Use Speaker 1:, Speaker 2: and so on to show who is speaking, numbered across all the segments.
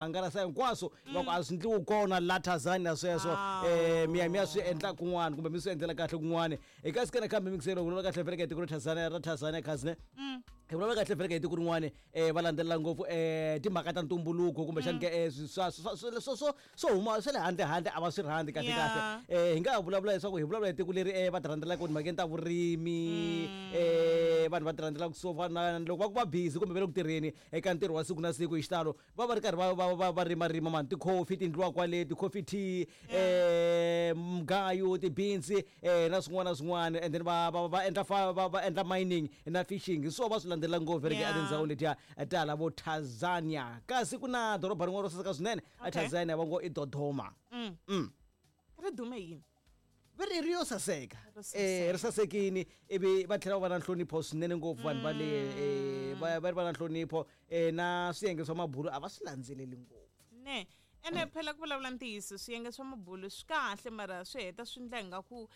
Speaker 1: Hangalasa hinkwaswo va ku a swi ndliwi kona la Tanzania sweswo. Mi ya mi ya swi endla kun'wana kumbe mi swi endlela kahle kun'wana. Hi kasi ke nakambe mixelo vulavula kahle vhele ka tiko ra Tanzania ra Tanzania khazine. Hi vulavula kahle vhele ka tiko rin'wana va landzelela ngopfu timhaka ta ntumbuluko kumbexani ke swa swa swa swo swo huma swa le handle handle a va swi rhandzi kahle kahle. Hi nga ha vulavula leswaku hi vulavula hi tiko leri va ti rhandzelaka timhakeni ta vurimi, vanhu va ti rhandzelaka swo fana na loko va ku va busy kumbe va le ku tirheni eka ntirho wa siku na siku hi xitalo va va ri karhi va va va va rimarima mani tikhofi ti endliwa kwale ti-coffee tea mugayo ti-beans na swin'wana na swin'wana and then va va va endla fa va va endla mining na fishing hi swona va swi landzelela ngopfu ri etindhawini letiya ta hala vo Tanzania kasi ku na doroba rin'wana ro saseka swinene a Tanzania va ngo i Dodoma.
Speaker 2: Ri dume yini?
Speaker 1: Va ri ri yo saseka ri sasekini ivi va tlhela va va na nhlonipho swinene ngopfu vanhu va le va va ri va na nhlonipho na swiyenge swa mabulu a va swi landzeleli ngopfu.
Speaker 2: Ne ene phela ku vulavula ntiyiso swiyenge swa mabulu swi kahle mara swi heta swi ndla ingaku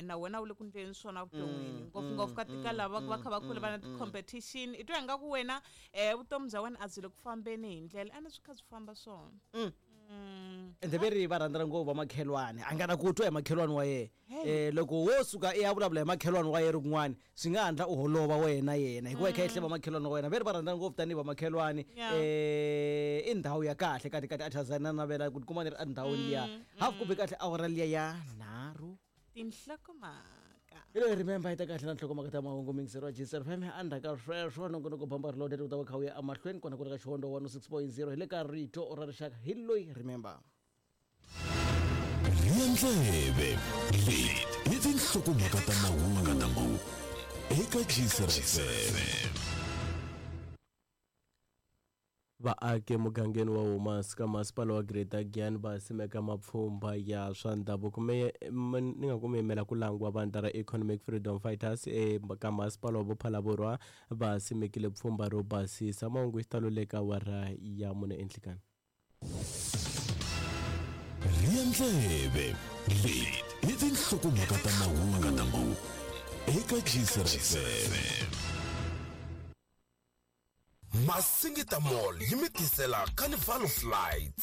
Speaker 2: na wena u le ku ndleni swona vuton'wini ngopfungopfu ka ka lava va kha va kula va na ti-competition i twa ingaku wena vutomi bya wena a byi le ku fambeni hi ndlela ene swi kha swi famba swona.
Speaker 1: Ende ve ri va rhandzana ngopfu vamakhelwani a nga na ku twa hi makhelwani wa yena loko wo suka i ya vulavula hi makhelwani wa yena kun'wani swi nga handla u holova wena yena hikuva i kha i hleva makhelwani wa wena. Ve ri va rhandzana ngopfu tanihi vamakhelwani i ndhawu ya kahle kati kati a Tanzania na navela ku tikuma ni ri endhawini liya half kumbe kahle awara liya ya nharhu.
Speaker 2: Tinhlokomhaka.
Speaker 1: Hi loyi remember yi ta kahle na nhlokomhaka ta mahungu mingisero wa Gsr FM endzhaku ka sweswo nongonoko bamba reloaded wu ta va kha wu ya emahlweni kona ku ri ka Xihondo 106.0 hi le ka rito ra rixaka hi loyi remember.
Speaker 3: Rhiya ndleve leti i tinhlokomhaka ta mahungu eka Gsr FM.
Speaker 4: Vaaki emugangeni wa Humas ka masipala wa Greater Giyani va simeka mapfhumba ya swa ndhavuko. Me, ni nga ku mi yimela ku langiwa vandla ra Economic Freedom Fighters eka masipala wa Bophalaborwa va simekile pfhumba ro basisa. Mahungu hi xitalo le ka awara ya mune enhlikani.
Speaker 3: Rhiya ndleve leti i tinhlokomhaka ta mahungu eka Gcr FM.
Speaker 5: Masingita Mall yi mi tisela Carnival of Lights.